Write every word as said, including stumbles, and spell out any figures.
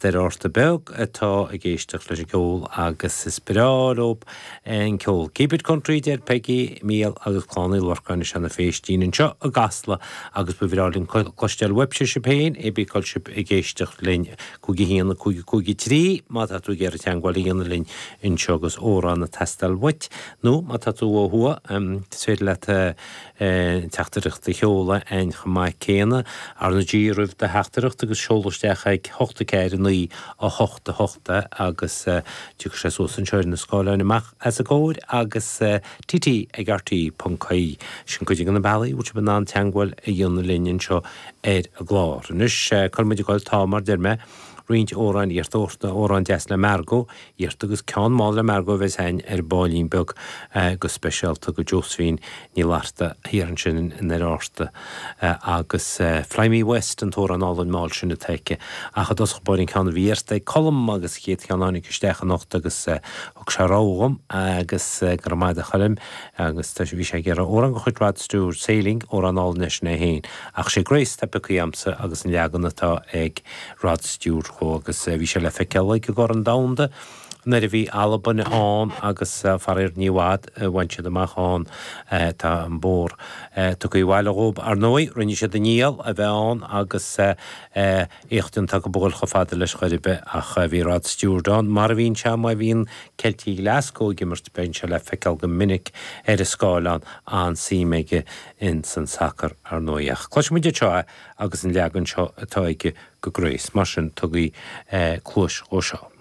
Doire Fhárta Beag atá ag éisteacht leis an gceol agus is breá leo an ceol. Keep it country deir Peggy, Mícheál agus Clann Uí Lorcáin i Seanadh Phéistín anseo i gCasla agus ba bhreá linn cloisteáil uaibhse sibh féin, é bí cá bhfuil sibh ag éisteacht linn cúig a haon a cúig a cúig a trí má tá tú ag iarraidh teagmháil a dhéanamh linn anseo agus amhrán ag teastáil uait nó má tá tú ó thuaidh is féidir leat teachtaireacht a sheoladh againn chomh maith céanna. R na G roimh do theachtaireacht agus seol isteach ag hocht a ceathair a naoi a hocht a hocht é agus tiocfaidh sé suas anseo ar na scáileáin amach as a gcomhair agus T T ag R T ponc I E. Sin cuid de na bealaí a bhfuil sibh in ann teagmháil a dhéanamh linn anseo ar an gclár. Anois cuirfidh muid ag goil tá mar deir mé roinnt amhráin iarrta amhrán deas le Margot iarrta agus ceann mall le Margot a bheas againn ar baillín beag go speisialta go Josephine Ní Fhlatharta thiar ansin i nDoire Fhárta agus Fly Me West an t-amhrán álainn mall sin atá aici ach i dtosach báire an ceann a bhí iarrta ag Colm agus chéad cheann a tháinig isteach anocht agus thug sé rogha dhom agus go raibh maith agat a Choilm agus tá bhí sé ag iarraidh amhrán de chuid Rod Stewart Sailing amhrán álainn leis é féin ach sé Grace atá pioctha agamsa agus an leagan atá ag Rod Stewart dhó agus bhí sé le feiceáil ag an gCorn Domhanda nuair a bhí Albain ann agus faraor ní i bhfad a bhain siad amach ann tá an bóthar tugtha abhaile dhóibh ar ndóigh rinne siad a ndícheall a bheith ann agus éacht iontach a dhul chomh fada leis chor ar bith ach bhí Rod Stewart ann mar a bhíonn sé má bhíonn Ceiltigh Glasgow ag imirt bíonn sé le feiceáil go minic ar an scáileán an-suim aige in san sacar ar ndóigh ach cloisfimid anseo é agus an leagan seo atá aige go Grace mar sin tugaigí cluas dhó seo.